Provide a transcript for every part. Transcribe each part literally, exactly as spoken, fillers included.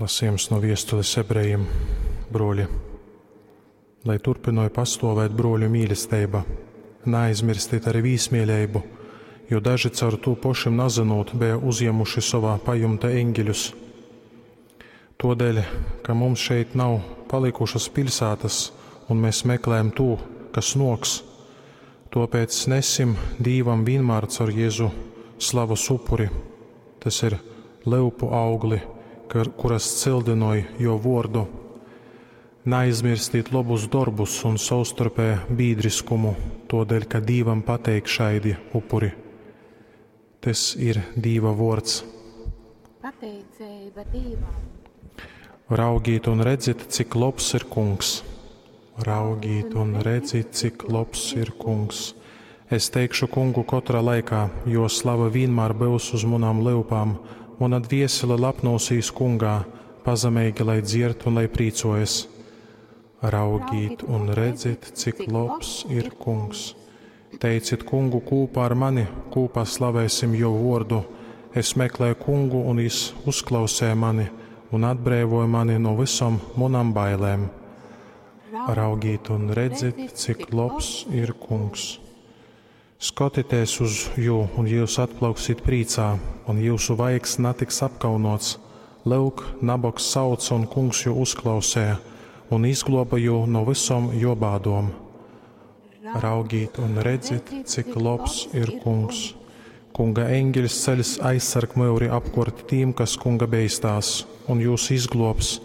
Lasījums no viestules ebrejiem, bruoļi. Lai turpināja pastāvēt bruoļu mīlestība, neaizmirstit arī vīsmīlību, jo daži caur tū pošim nazinot bija uzņēmuši savā pajumte eņģeļus. Todēļ, ka mums šeit nav palikušas pilsētas, un mēs meklējam tū, kas noks, tāpēc nesim Dīvam vienmēr caur Jēzu slavas upuri. Tas ir leupu augli, kuras cildinoja jo vordu. Neaizmirstīt labus darbus un savstarpēju biedriskumu, todēļ, ka Dīvam pateik šaidi upuri. Tas ir Dīva vords. Pateicība Dievam. Raugīt un redzit, cik labs ir kungs. Raugīt un redzit, cik labs ir kungs. Es teikšu kungu katrā laikā, jo slava vienmēr būs uz manām lūpām. Mana dviesele lepnosīs kungā, pazemīgi lai dzierd un lai prīcojas. Raugīt un redzit, cik labs ir kungs. Teicit kungu kūpā ar mani, kūpā slavēsim jo vordu. Es meklēju kungu, un jis uzklausēja mani un atbrīvoja mani no visom manām bailēm. Raugīt un redzit, cik labs ir kungs. Skatieties uz jū, un jūs atplauksit prīcā, un jūsu vaigs netiks apkaunots. Lūk, nabogs sauc, un kungs jū uzklausēja, un izgloba jū no visom jo bādom. Raugīt un redzit, cik labs ir kungs. Kunga eņģeļs ceļas aizsarg myuri apkort tīm, kas kunga beistās, un jūs izglobs.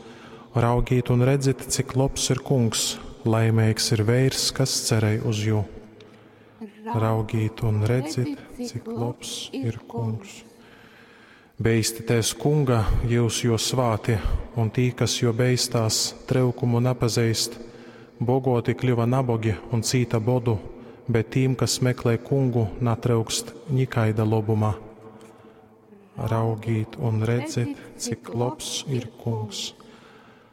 Raugīt un redzit, cik labs ir kungs, laimīgs ir veirs, kas cerej uz jū. Raugīt un redzit, cik labs ir kungs. Beistieties kunga, jūs jo svāti, un tī, kas jo beistās, trūkumu nepazīst. Bogoti kļuva nabogi un cīta bodu, bet tīm, kas meklē kungu, natrūkst nikaida lobuma. Raugīt un redzit, cik labs ir kungs.